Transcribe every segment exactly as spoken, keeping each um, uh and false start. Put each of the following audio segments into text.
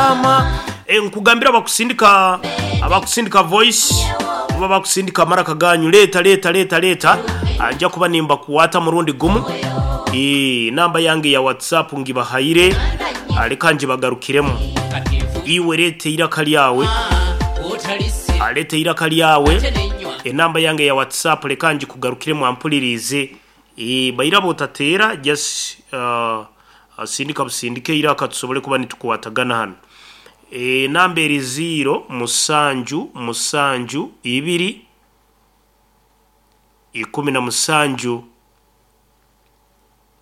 Kubyama. E, nkugambira abakusindika abakusindika voice oba bakusindika maraka ganyu, leeta leeta leeta leeta, nja kuba nimba kuwata murundi gumu. E, namba yange ya WhatsApp ngibahaire, aleka njibagarukiremu. Iwe lete iraka lyawe, alete iraka lyawe, enamba yange ya WhatsApp leka njikugarukiremu ampulirize. E, bairabo otateera just uh, sindika busindike iraka tusobole kuba nitukuwatagana hano. E, namba eri zero musanju musanju ibiri ikumi na musanju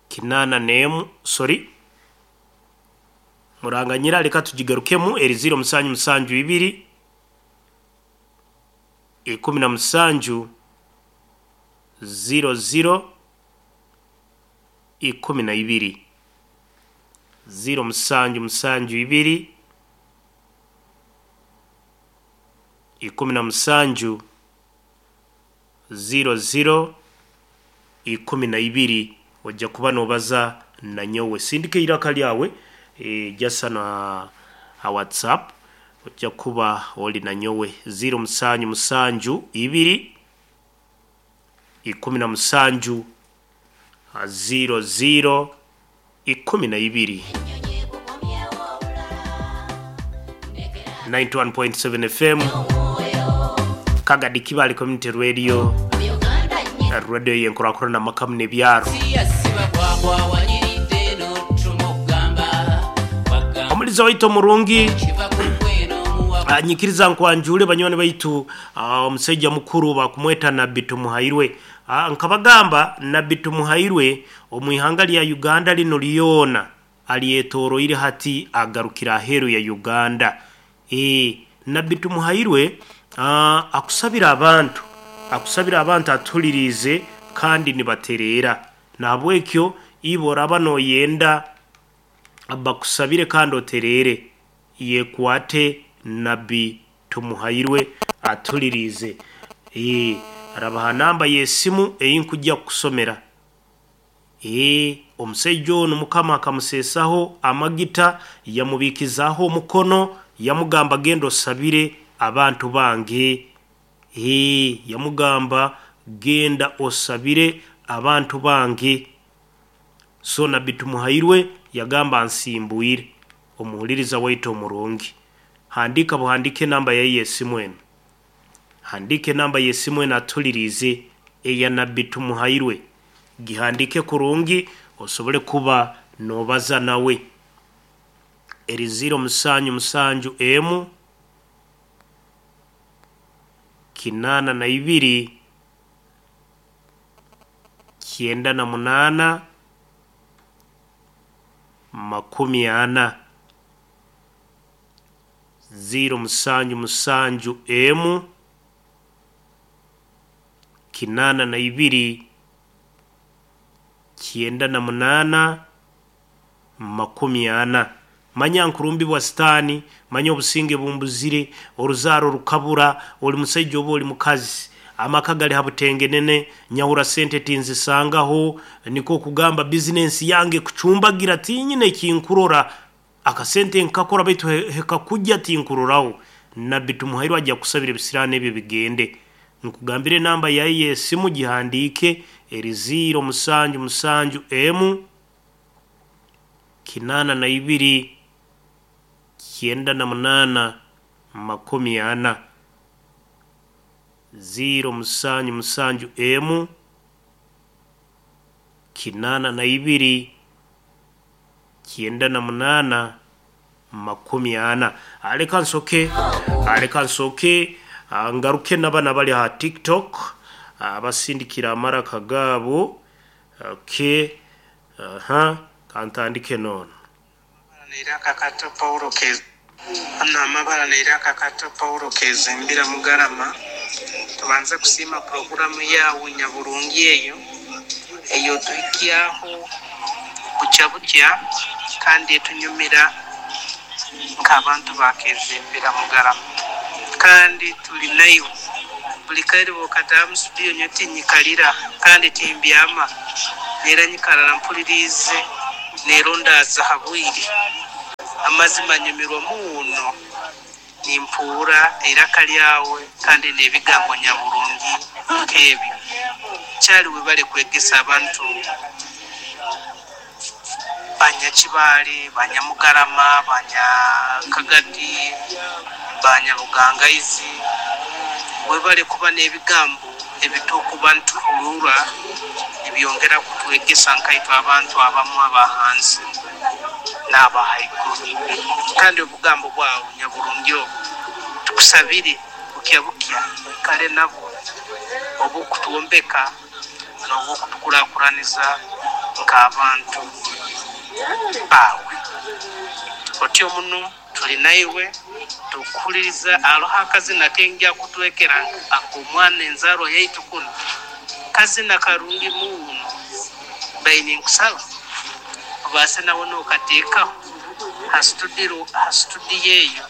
kinana nemu, sorry muranganyira, reka tugigarukemu. Eri zero musanju musanju ibiri ikumi na musanju zero zero ikumi na ibiri, zero musanju musanju ibiri ikumi na musanju zero zero ikumi na ibiri. Ojja kuba nobaza nanyowe, sindika iraka lyawe e, jasa na ha WhatsApp, ojja kuba oli nanyowe. Zero musanju musanju ibiri ikumi na musanju zero zero ikumi na ibiri. ninety-one point seven F M Kagadi Kibale Community Radio, radio yenkurakura na makamu n'ebyaro. Omuliza waitu omurungi anyikiriza nkwanjule banywani baitu, omusajja mukuru bakumweta Nabbi Tumuhairwe. Nkabagamba Nabbi Tumuhairwe omwihanga lya Uganda lino lyona aliyetoroire hati agarukira aheru ya Uganda. E, Nabbi Tumuhairwe akusabira abantu, akusabira abantu atulirize kandi nibaterera. Nahabwekyo ibo oraba noyenda bakusabire kandi oterere, yekwate Nabbi Tumuhairwe atulirize. E, arabaha namba y'esimu eyinkujja kusomera. E, omusajja ono Mukama akamuseesaho amagita, yamubiikizaaho omukono, yamugamba genda osabire abantu bange. E, yamugamba genda osabire abantu bange. So Nabbi Tumuhairwe yagamba nsimbuire. Omuhuliriza waitu omurungi, handika buhandike namba ye y'esimu eno, handike namba y'esimu eno atulirize eya Nabbi Tumuhairwe, gihandike kurungi osobole kuba nobaza nawe. Eri zero musanju musanju emu kinana na ibiri kyenda na munana makumi ana, zero musanju musanju emu kinana na ibiri kyenda na munana makumi ana. Manya nkurumbi bwa sitani, manya obusinge bumbuzire, oruzaro rukabura, oli musajja oba oli mukazi, amaka gali habutengenene, nyahura sente tinzisangaho, niko kugamba business yange kucumbagira tinyine kinkurora, akasente nkakora baitu hekakujja tinkuroraho. Nabbi Tumuhairwe ajja kusabira ebisirani ebyo bigende. Nkugambire namba yaye y'esimu gihandike, eri zero musanju musanju emu kinana na ibiri kyenda na munana makumi ana, zero musanju musanju emu kinana na ibiri kyenda na munana makumi ana. Aleka nsoke, aleka nsoke, ngaruke n'abana bali ha TikTok abasindikira amaraka gabo. Okay, aha, kantandike nono. Kato Paulo Kez amabara neiraka Kato Paulo Kezimbira Mugarama. Tubanze kusiima programu yawe nyaburungi eyo eyo tuhikyaho bukya bukya kandi etunyumira nk'abantu bakezimbira Mugarama, kandi tuli nayo buli kaire bwokataha studio nyo tinyikalira kandi timbyama nera nyikarara mpulirize nero ndaza habwire. Amazima nyumirwa muno nimpuura eiraka lyawe kandi n'ebigambo nyaburungi nk'ebyo. Kyali webale kwegesa abantu Banyakibale, Banyamugarama, Banyakagadi, Banyabugangaizi. Webale kuba n'ebigambo ebitukuba nituhurura nibyongera kutwegesa nkaitwe abantu abamu abahansi n'abahaiguru. Kandi obugambo bwawe nyaburungi obu tukusabire bukya bukya oikale nabwo obukutwombeka n'obukutukurakuraniza nk'abantu bawe. Otyo muno tuli naiwe tukuhuliriza. Aloho akazina kenja kutwekera ak'omwana enzarwa yaitu kuno kazina karungi muno, baine nkusaba obaase nawe nokateekaho ha studio ha studio eyo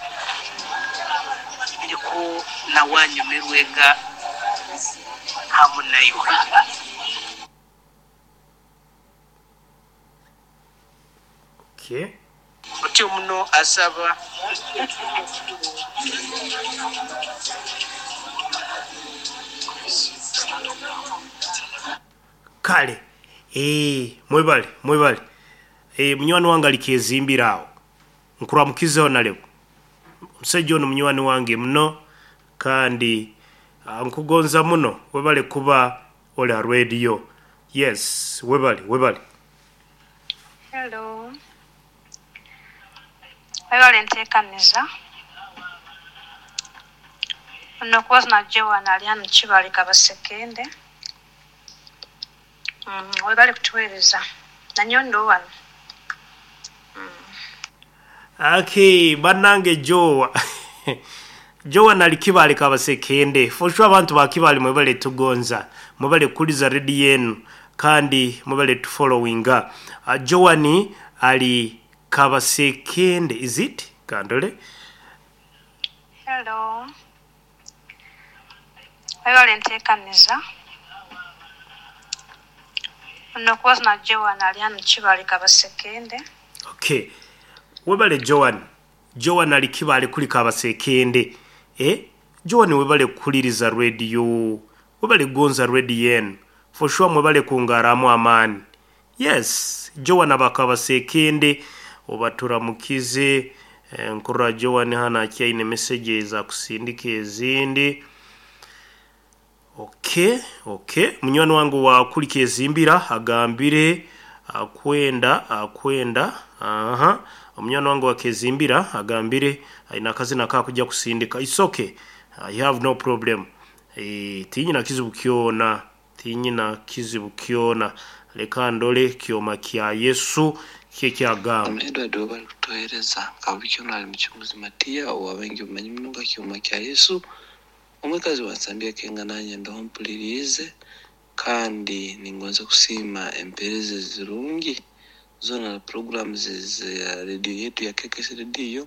ndiko nawanyumirwega hamu naiwe. Okay. Otyo muno asaba Kale eh mwebale mwebale eh munywani wange alikezimbira awo nkuramukizeho nalebo omusajja ono munywani wange muno kandi ah, nkugonza muno. Webale kuba oli ha radio. Yes, webale webale. Hello. Webale nteekaniza. Ono kubaza Joan ali hano Kibale Kabasekende. Mm, webale kutuweereza. Nanyondo wano. Okay, bannange Jowa. Jowa nali Kibale Kabasekende. For sure abantu ba Kibale mwebale tugonza. Mwebale kuliza radio yenu kandi mwebale tufollowinga. Uh, Joani ali Kabasekende, is it? Kandole. Hello. Webale nteekaniza. Ono kubaza Joan ali hano Kibale Kabasekende. Okay. Webale Joan. Joan ali Kibale kuli Kabasekende. Eh? Joan webale kuliriza radio. Webale gonza radio yenu. For sure mwebale kungaramu amani. Yes, Joan abakabasekende obaturamukize. Eh, nkurra Joan hana akyaine messages za kusindika ezindi. Okay, okay. Munywani wangu wa kulika ezimbira agambire akwenda akwenda. Aha. Munywani wangu wa kezimbira agambire aina akazina kakujja kusindika. It's okay. I have no problem. Eh, tinyina kizibu kyona, tinyina kizibu kyona. Leka ndole kyoma kya Yesu kye kyagamba. Edward webale kutuheereza kabukyono ali muchunguzi Matiya owabengi omumanyi muno nga kyoma kya Yesu. Omwekazi wansambya kenga nanye ndoho mpulirize kandi ningonza kusiima empeereza ezirungi zona na programs za radio yetu ya K K S Radio.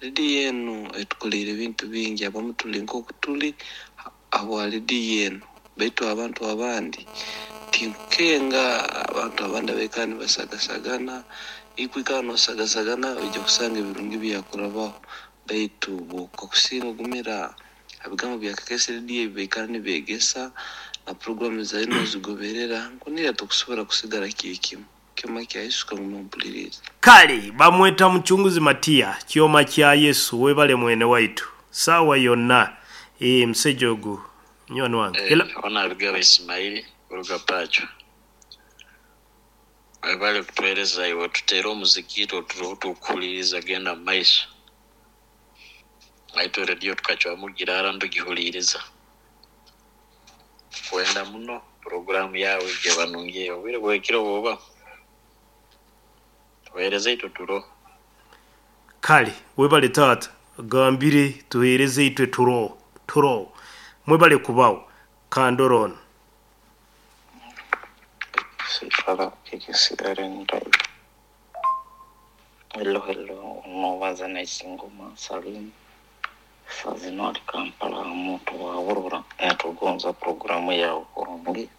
Radio yenu etukoleire ebintu bingi, abamu tuli nk'oku tuli habwa radio yenu, baitu abantu abandi tinkukenga abantu abandi abaikara nibasagasagana, ikwikara nosagasagana oija kusanga ebirungi byakurabaho, baitu bwokakusinga ogumira ebigambo bya K K S Radio ebi baikara nibeegesa na programu zayo nozigoberera nkunira tokusobora kusigara kiri kimu. Kyoma kya Yesu kanguma mpuliriza. Kale bamweta muchunguzi Matiya kyoma kya Yesu webale mwene waitu sawa yonna. Eh msejo ogu munywani wange. Hello. Ona Abigaba Ismaili kuruga Pacho. Webale kutuheereza iwe tuteere omuziki tuturoho tukuhuliriza genda mu maiso. Aitwe radio tukacwamu girara ndugihuliriza. Kwenda muno programu yawe gye banungiye obwire bwekiro bwoba. Tuheereze itwe turo. Kale webale taata gambire tuheereze itwe turo turo. Mwebale kubawo kandorono. Sifala K K C R N Drive. Hello hello, nobaza naisingoma Salim Sazino ali Kampala omuntu wa Aurora yatugonza programu yawe kurungi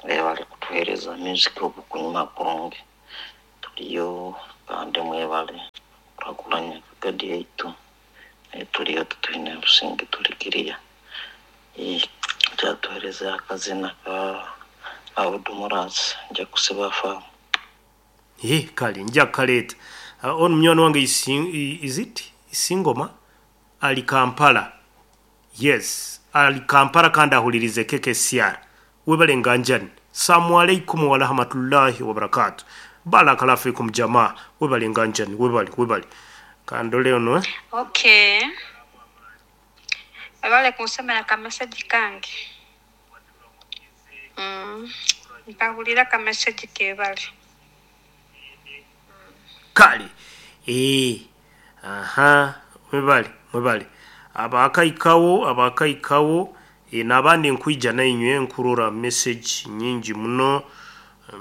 ebale kutuhereza music obukunyuma kurungi tuliyo kandi mwebale. Kakulanya kagadi yaitu tuliyo tutwine businge tulikiriya kyatuhereza akazina ka Abudumurasi nja kusiba faamu. Eh, kale nja kaleeta. Uh, ono munywani wange isi, is it Isingoma ali Kampala. Yes, ali Kampala kandi ahulirize K K C R. Webale nganjani. Salamu alaikum wa rahmatullahi wa barakatuh. Barakallahu fikum jamaa. Webale nganjani, webale, webale. Kandole ono eh? Okay. Webale kunsomera ka message kange. Mm. Mpahulira ka message kebale. Kale. Eh. Aha, mwebale, mwebale. Abakaikawo, abakaikawo e, n'abandi nkwija nainywe nkurora message nyingi muno,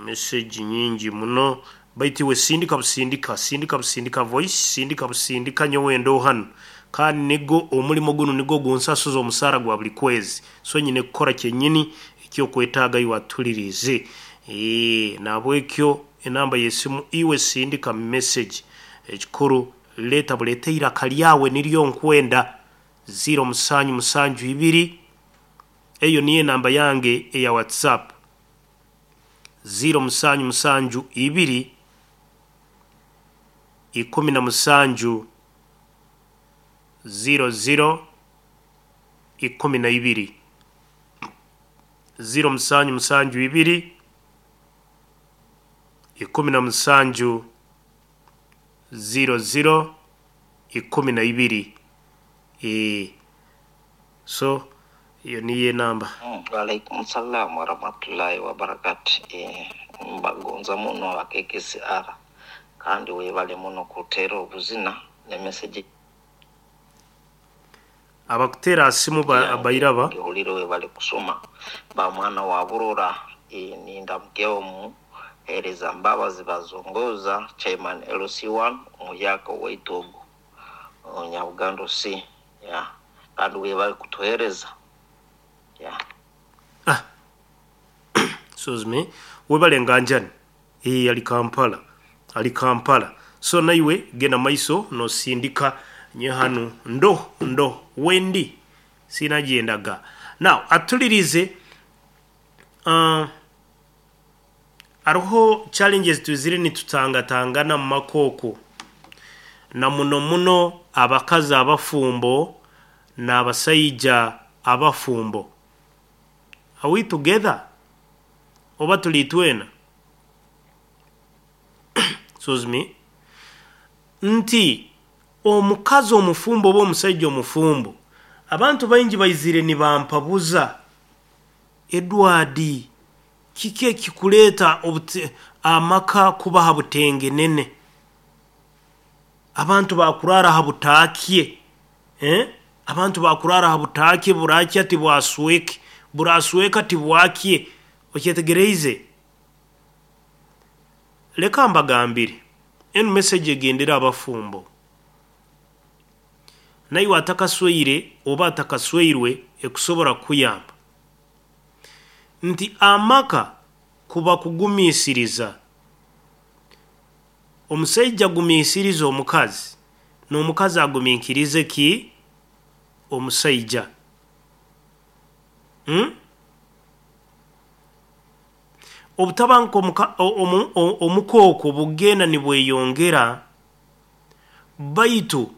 message nyingi muno. Baitu iwe sindika busindika, sindika busindika voice, sindika busindika nyowe ndo hano. Kandi nigo omulimo guno nigo gunsasuza omusaara gwa buli kwezi. So nyine kukora kyennyini ekyokwetaaga iwe atulirize. Eh, nabwekyo enamba y'essimu iwe sindika message. Ekikuru leeta buleete iraka lyawe niryo nkwenda ziro musanju musanju ibiri, eyo niyo enamba yange eya WhatsApp, ziro musanju musanju ibiri ikumi na musanju ziro ziro ikumi na ibiri, ziro musanju musanju ibiri ikumi na musanju ziro ziro ikumi na ibiri. E, so iyo niyo enamba. Waalaikum salam warahmatullahi wabarakatu. Eh, mbagonza muno aba K K C R kandi webale muno kuteera obuzina ne message Abakuteera asimu ba, yange bairaba. Ngihulire webale kusoma ba mwana wa Burora. eh, ninda mkeo mu hereza Mbabazi bazongoza chairman L C one omuyaka waitu ogu Nyabugando C ya kandi webale kutuhereza ya. Ah, excuse me, webale nganjani. Eh, ali Kampala, ali Kampala. So naiwe genda maiso nosindika nye hanu ndo ndo wendi sinagendaga. Now atulirize, uh, hariho challenges tuzire nitutangatangana mu makooko na muno muno abakazi abafumbo n'abasaija abafumbo. Are we together oba tuli twena? Excuse me, nti omukazi omufumbo oba omusajja omufumbo, abantu baingi baizire nibampabuza, "Edward, kiki ekikuleeta obute- amaka kuba ha butengenene, abantu bakurara ha butaakye, eh? Abantu bakurara ha butaakye, burakya tibwasweke, burasweka tibwakye." Okyetegereize? Leka mbagambire, enu message egendera abafumbo, naiwe atakasweire oba atakasweirwe ekusobora kuyamba, nti amaka kuba kugumiisiriza. Omusajja agumiisiriza omukazi n'omukazi agumiikirize ki omusajja, hmm? Obutabanguko omuka- omu- omu- omukooko bugenda nibweyongera. Baitu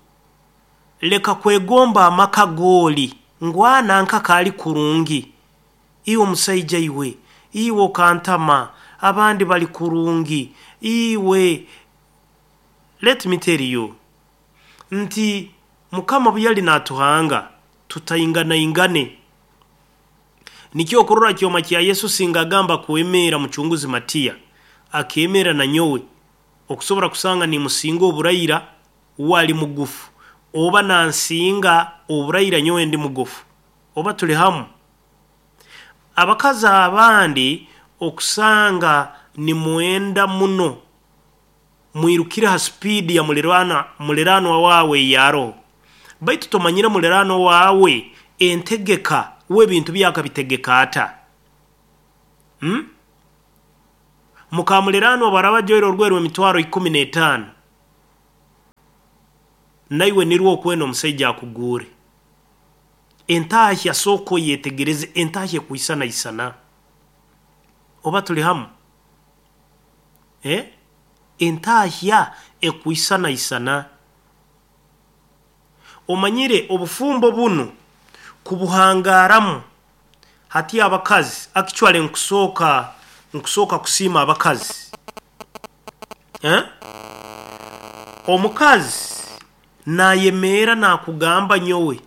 leka kwegomba amaka gooli ngwana nka kaali kurungi. Iwe omusajja, iwe iwe okantama, abandi bali kurungi. Iwe, let me tell you nti Mukama bwe yali natuhanga tutainganaingane. Nikyo okurora kyoma kya Yesu singa agamba kwemera mucunguzi Matiya akemera na nyowe okusobora kusanga nimusinga oburayira wali mugufu oba nansinga oburayira nyowe ndi mugufu oba tuli hamu. Abakazi abandi okusanga nimwenda muno mwirukire ha speed ya mulirwana muliranwa wawe yaro, baitu tomanyire muliranwa wawe entegeka w'ebintu byakabitegeka ata, hmm? Mukamuliranwa baraba joiro orweru emitwaro ikumi n'etaano. Naiwe nirwo okwenda omusaija akuguure. Entahya sooka oyetegereze, entahya ekwisanaisana. Oba tuli hamu? Eh? Entahya ekwisanaisana. Omanyire obufumbo bunu kubuhangaramu hati abakazi actually nkusooka nkusooka kusiima abakazi. Eh? Omukazi nayemeera nakugamba nyowe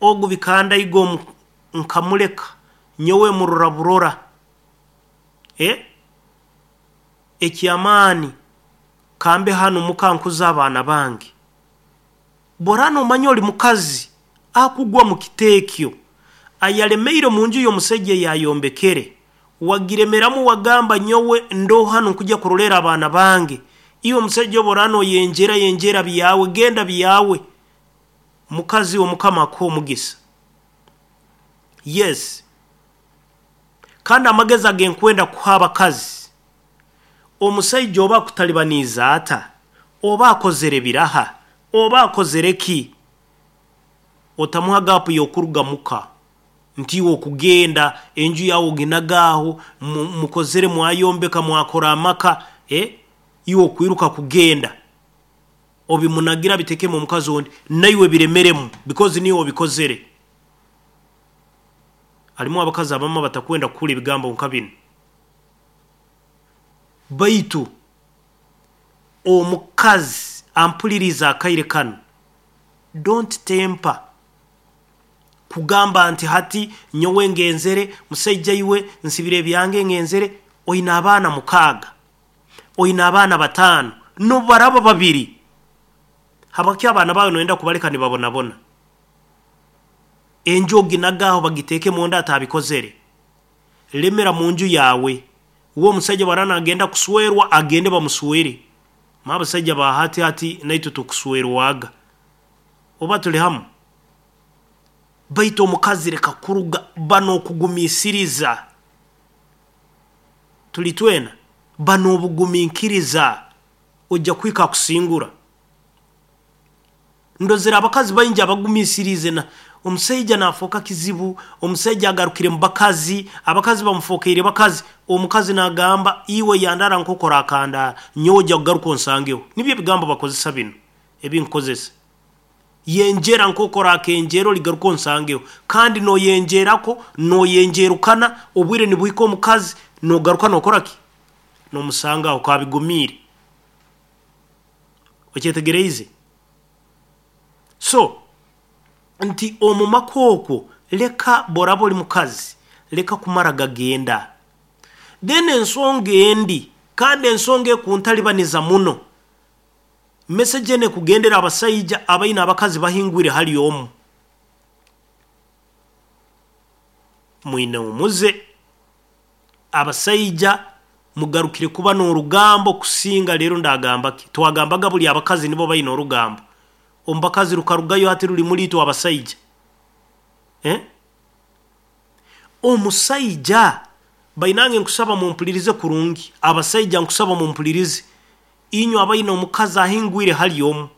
ogu bikandaiga omu nkamuleka nyowe murora burora. Eh? Ekyamaani kambe hanu muka nkuza abaana bange. Borana omanya oli mukazi akugwa mu kiteekyo ayalemeire mu nju y'omusajja yayombekere, wagiremeramu wagamba nyowe ndo hanu nkujja kurolera abaana bange. Iwe omusajja oborana oyenjera yenjera byawe, genda byawe. Mukazi omukama akuha omugisa. Yes. Kandi amagezi agenkwenda kuha abakazi, omusaija oba akutalibaniiza ata, oba akozere biraha, oba akozere ki, otamuha gapu y'okuruga muka nti iwe okugenda enju yawe oginagaaho, mukozere mwayombeka mwakora amaka, eh? Iwe okwiruka kugenda obimunagira bitekemu omukazi ondi, naiwe biremeremu because niwe obikozere. Halimu abakazi abamu batakwenda kukura ebigambo nka binu. Baitu omukazi ampuliriza akaire kanu, don't temper kugamba nti hati nyowe ngenzere musaija iwe nsibire ebyange ngenzere. Oina abaana mukaaga, oina abaana bataano, nobaraba babiri, habaki abaana bawe noyenda kubaleka nibabonabona? Enju oginagaho bagiteekemu ondi atabikozere. Lemera mu nju yawe. Uwo omusajja barana agenda kuswerwa, agende bamuswere. Ma abasajja ba hati hati naitwe tukuswerwaga. Oba tuli hamu? Baitu omukazi leka kuruga bano okugumiisiriza. Tuli twena bano obugumiikiriza ojja kuhika kusingura. Ndozera abakazi baingi abagumiisirize na omusaija nafooka kizibu, omusaija agarukire mu bakazi, abakazi bamufokeire bakazi, omukazi nagamba iwe yandara nkokora akandara, nyowe ojja kugaruka onsangeho. Nibyo ebigambo bakozesa bino ebinkozesa. Yenjera nkokora akenjero ligaruka onsangeho, kandi noyenjerako noyenjerukana, obwire nibuhika omukazi nogaruka nokora ki? Nomusangaho kabigumiire. Okyetegereize? So nti omu maka okwo leka boraba oli mukazi leka kumara gagenda. Then ensonga endi, kandi ensonga ekuntalibaniza muno, message ene kugendera abasaija abaina abakazi bahingwire hali omu. Mwine omuze abasaija mugarukire kuba n'orugambo kusinga leero ndagamba ki? Twagambaga buli abakazi nibo baina orugambo. Omu bakazi rukarugayo hati ruli muri itwe abasaija. Eh? Omusaija bainange nkusaba mumpulirize kurungi, abasaija nkusaba mumpulirize, inywe abaina omukazi ahingwire hali omu,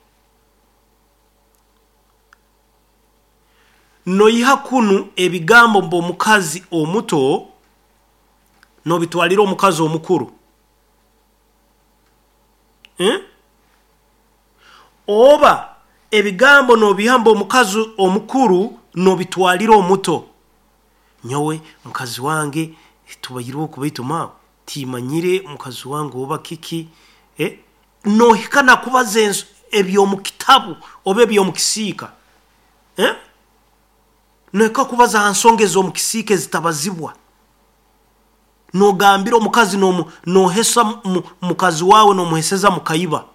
noiha kunu ebigambo mbu omukazi omuto nobitwalira omukazi omukuru. Eh? Oba ebigambo nobiha mbu omukazi omukuru nobitwalira omuto. Nyowe mukazi wange tubaire oku baitu mawe timanyire mukazi wange oba kiki, eh? Nohika nakubaza ebyomu kitabu oba ebyomu kisiika. Eh? Nohika kubaza ha nsonga ez'omu kisiika ezitabazibwa. Nogambira omukazi nohesa mukazi wawe nomuheseza mukaiba.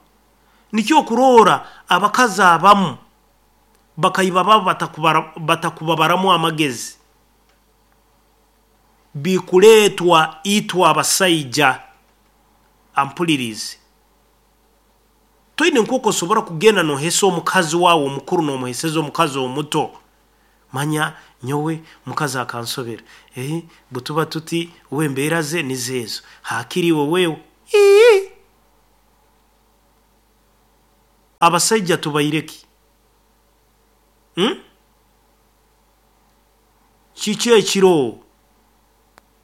Nikyo okuroora abakazi abamu bakaiba babo batakubabaramu amagezi, bikuleetwa itwe abasaija. Ampulirize, toine nk'oku osobora kugenda nohesa omukazi wawe omukuru nomuheseza omukazi omuto. Manya nyowe mukazi akansobera, eh, butuba tuti we embeera ze nizo ezo, hakiri iwe wewe. Ii! Abasaija tubaireki? Hmm? Kiki ekiro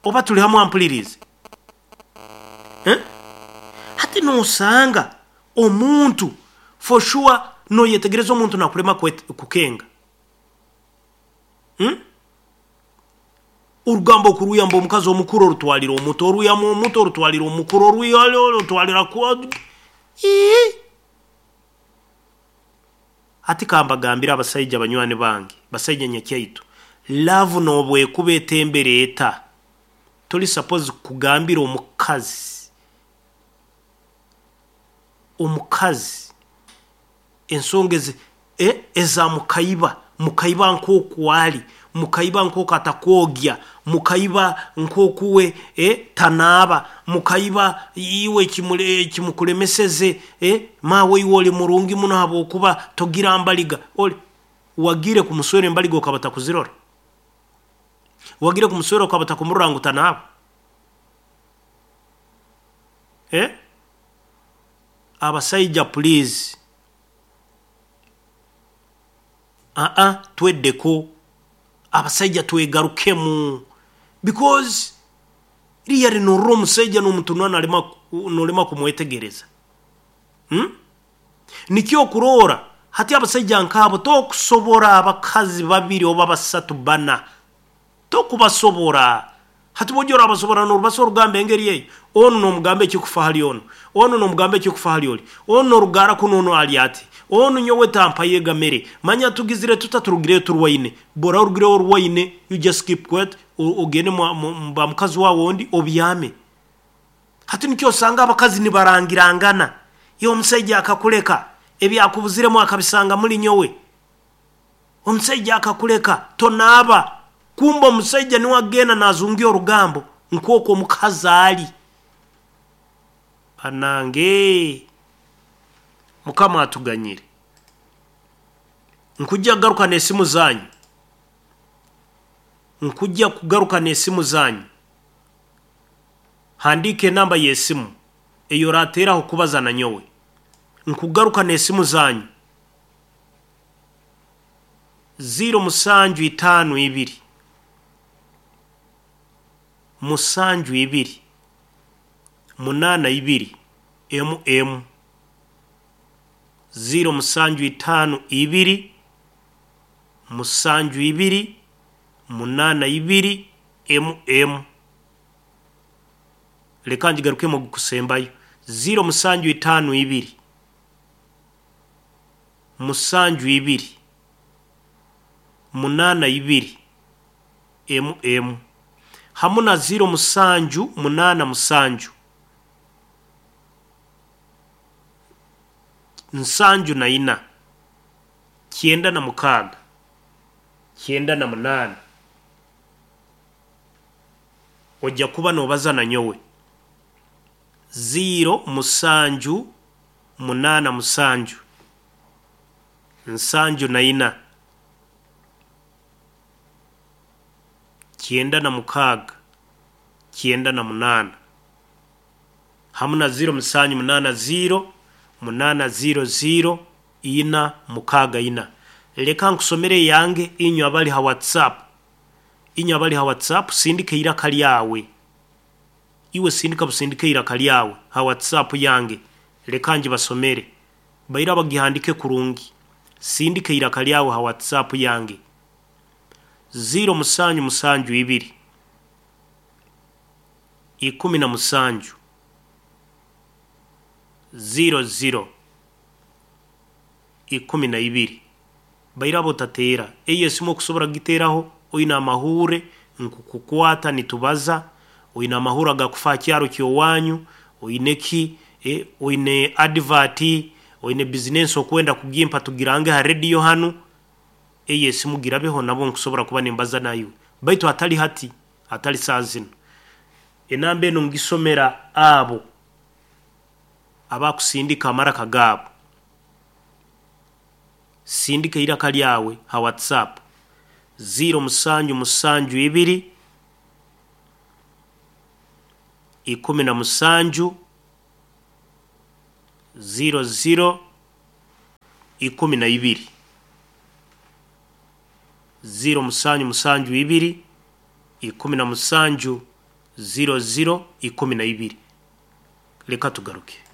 oba tuli hamu ampulirize, eh? Hati nosanga omuntu for sure noyetegereza omuntu nakulema kukenga, hmm? Orugambo okuruyamba omukazi omukuru orutwalira omuto, oruyamu omuto orutwalira omukuru, oruyale orutwalira kwa. Hati kambagambira abasaija banywani bange, basaija nyakyaitu, love nobwekuba etembere eta, toli suppose kugambira omukazi omukazi ensonga ezi eh, eza mukaiba mukaiba nkoku ali, mukaiba nkoku atakwogya, mukaiba nkokuwe eh, tanaaba, mukaiba iwe kimukulemeseze, eh, mawe iwe oli murungi muno habwokuba togira mbaliga. Oli wagire kumuswera embaliga okaba takuzirora, wagire kumuswera okaba takumurora ngu tanaaba, eh? Abasaija please, aa tweddeko abasaija, twegarukemu, because really norora omusaija n'omutunwa nalema nolema kumwetegereza, hmm? Nikyo okuroora hati abasaija nk'abo tokusobora abakazi babiri oba basatu bana, tokubasobora. Hati bwojya orabasobora norubasa orugamba engeri eyo, onu nomugamba ekikufa hali onu, onu nomugamba ekikufa hali oli, onu norugara kuno, onu ali ati onu nyowe tampaye mere manya tugizire tuta turugireyo turwaine bora orugireyo orwaine, you just keep quiet, ogende ba mukazi wawe ondi obyame. Hati nikyo osanga abakazi nibarangirangana, ye omusaija akakuleka ebyakubuziremu akabisanga muli nyowe, omusaija akakuleka tonaaba, kumba omusaija niwe agenda nazungia orugambo nk'oku omukazi ali. Banange, Mukama atuganyire. Nkujja kugaruka n'esimu zanyu, nkujja kugaruka n'esimu zanyu. Handiika enamba y'esimu eyo orateeraho kubaza na nyowe. Nkugaruka n'esimu zanyu ziro musanju itaano ibiri musanju ibiri munaana ibiri emu emu, ziro musanju itaano ibiri musanju ibiri munaana ibiri emu emu. Leka ngigarukemu ogukusembayo, ziro musanju itaano ibiri musanju ibiri munaana ibiri emu emu, hamu na ziro musanju munaana musanju nsanju na ina kyenda na mukaaga kyenda na munaana. Ojja kuba nobaza na nyowe ziro musanju munaana musanju nsanju na ina kyenda na mukaaga kyenda na munaana, hamu na ziro musanju munaana ziro munaana ziro ziro ina mukaaga ina. Leka nkusomere yange inywe abali ha WhatsApp, inywe abali ha WhatsApp sindika iraka lyawe, iwe sindika busindike iraka lyawe ha WhatsApp yange, leka njibasomere baira bagihandike kurungi. Sindika iraka lyawe ha WhatsApp yange ziro musanju musanju ibiri ikumi na musanju ziro ziro ikumi na ibiri. Baira botateera eyo esimu okusobora kugiteeraho oine amahure nkukukwata nitubaza, oine amahure agakufa kyaro kyowanyu, oine ki, eh, oine advert, oine business okwenda kugimpa tugirange ha radio hanu, eyo esimu girabeho nabo nkusobora kuba nimbaza nayo, baitu atali hati, atali saa zino. Enamba eno ngisomera abo abakusindika amaraka gaabo. Sindika iraka lyawe ha WhatsApp ziro musanju musanju ibiri ikumi na musanju ziro ziro ikumi na ibiri ziro musanju musanju ibiri ikumi na musanju ziro ziro ikumi na ibiri. Leka tugaruke.